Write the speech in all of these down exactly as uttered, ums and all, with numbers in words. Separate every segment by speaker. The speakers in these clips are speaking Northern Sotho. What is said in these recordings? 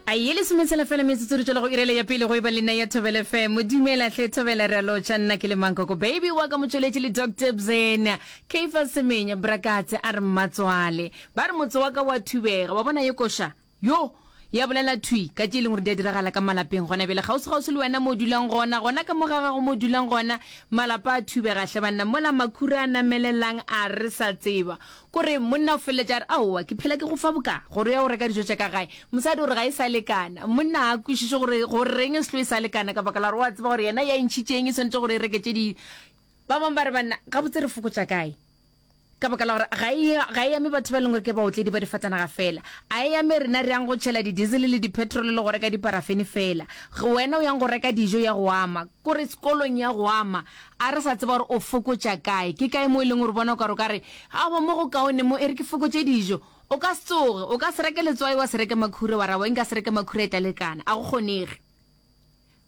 Speaker 1: A ye lesometshela fela metsotso re tšwela go irele ya pele go e ba le nna ya Thobela F M. Dumela hle Thobela, re a lotšha. Nna ke le Mankoko Baby wa ka motšweletši le Doctor Bzena Keifa Semenya Brakatse a re mmatswale ba re motse wa ka wa thubega wa bona ye koša yo ya bolela thwi ka tše e leng gore di a diragala ka malapeng gona bjale kgauswi-kgauswi le wena mo o dulang gona, gona ka mo ga gago mo o dulang gona. Malapa a thubega hle banna, mola makhura a namelelang a re sa tseba kore monna o feleletša a re aowa ke phela ke go fa boka gore o ya go reka dijo tša ka gae. Mosadi o re ga e sa lekana, monna ga a kwešiše gore goreng e selo e sa lekana ka baka la gore o a tseba gore yena ya e ntšhitšeng e swanetše gore e reke tše di. Ba bangwe ba re banna gabotse re fokotša kae ka baka la gore ga e ga e ame batho ba e leng gore ke baotledi ba difatanaga fela, a e ame rena re yang go tšhela di-diesel le di-petrol le go reka diparafene fela. Wena o yang go reka dijo ya go ama kore sekolong ya go ama, a re sa tseba gore o fokotša kae, ke kae mo e leng gore bona o ka re o ka re aowa mo go kaone mo e re ke fokotše dijo. O ka se tsoge o ka se reke letswai wa se reke makhura wa ra wa nka se reke makhura e tla lekana, a go kgonege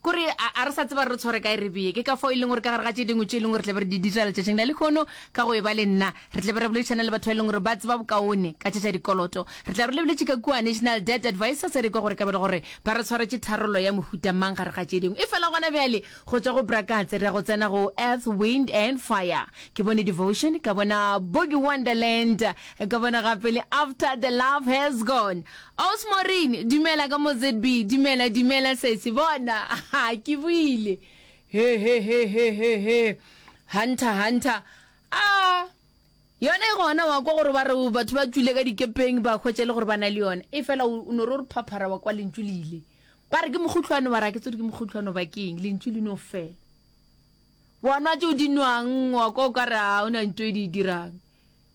Speaker 1: kore a re sa tseba re tshware kae re bee. Ke ka fao e leng gore ka gare ga tše dingwe tše e leng gore tlabe re di dira letšatšing la lehono ka go e ba le nna, re tlabe re boledišana le batho ba e leng gore ba tseba bokaone ka tše tša dikoloto. Re tla re lebeletše ka kua National Debt Advisor se re kwa gore ka be le gore ba re tshwaretše tharollo ya mohuta mang gare ga tše dingwe. E fela gona bjale go tšwa go Brakatse re ya go tsena go Earth, Wind and Fire. Ke bone Devotion, ka bona Boogie Wonderland, ka bona gape le After the Love Has Gone. Aus Maureen, dumela ka mo Z B, dumela dumela sesi bona ke buile he he he he he he hunter hunter a yona e gona wa kwa gore ba re batho ba tšwile ka dikepeng ba hwetša le gore ba na le yona e fela o no re o re phaphara wa kwa lentšu le ile ba re ke mokgohlwane wa ra ke tsore ke mokgohlwane ba keng lentšu le no fela wa nwa tšeo di nwang wa kwa o ka re a o na nto e di dirang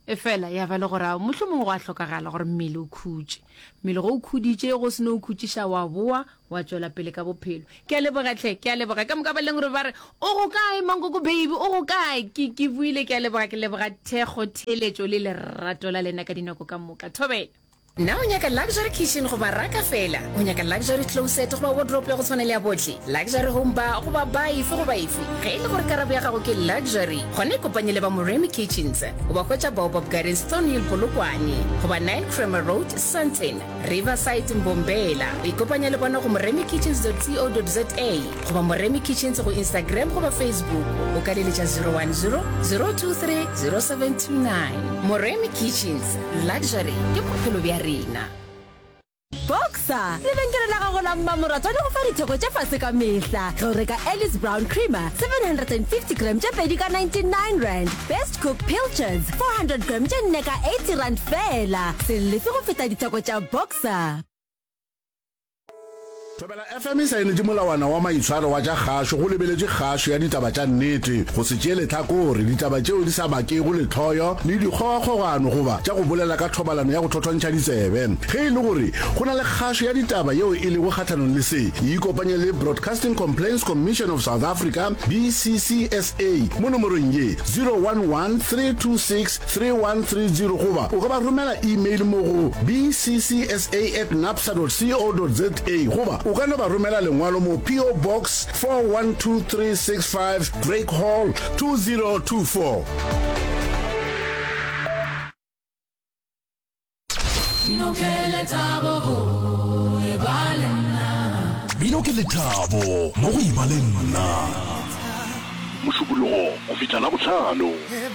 Speaker 1: e fela ya ba le gore mohlomongwe go a hlokagala gore mmele o khutše. Mmele go o khuditše go se no o khutšiša wa boa wa tšwela pele ka bophelo. Ke a leboga hle, ke a leboga ka moka ba leng gore ba re o go kae Mankoko Baby, o go kae? Ke ke buile, ke a leboga, ke leboga thekgo, theeletšo le lerato la lena ka dinako ka moka. Thobela. Na o nyaka luxury kitchen goba raka fela? O nyaka luxury closet goba wardrobe ya go tshwana le ya bohle? Luxury home bar goba bar efe goba efe? Ge e le gore karabo ya gago ke luxury, gona ikopanye le ba Moremi Kitchens. O ba hwetša Baobab Gardens, Thornhill, Polokwane goba nine Kramer Road, Sandton, Riverside, Mbombela. O ikopanya le bona go moremikitchens dot co dot za goba Moremi Kitchens go Instagram goba Facebook. O ka leletša zero one zero zero two three zero seven two nine. Moremi Kitchens, luxury ke bophelo bja rena.
Speaker 2: Boxer lebenkele la gago la mmamoratwa le go fa ditheko tše fase ka mehla ge o reka Alice Brown Creamer seven hundred and fifty gram tše pedi ka ninety-nine rand, Best Cook Pilchards four hundred gram tše nne ka eighty rand fela. Se lefe go feta ditheko tša Boxer.
Speaker 3: Thobela F M e saenetše molawana wa maitshwaro wa tša kgašo go lebeletše kgašo ya ditaba tša nnete, go se tšee lehlakore, ditaba tšeo di sa bakego lehloyo le dikgogakgogano goba tša go bolela ka thobalano ya go thothontšha ditsebe. Ge e le gore go na le kgašo ya ditaba yeo e lego kgahlanong le se, e ikopanye le Broadcasting Complaints Commission of South Africa, B C C S A, mo nomorong ye zero one one three two six three one three zero goba o ka ba romela email mo go B C C S A at nabsa dot co dot za goba o ka no ba romela lengwalo mo P O Box four one two three six five, Drake Hall, two zero two four.
Speaker 4: Mmino ke lethabo go e ba le nna.
Speaker 5: Mmino ke lethabo mo go e ba le nna.
Speaker 6: Mošupologo go fihla Labohlano.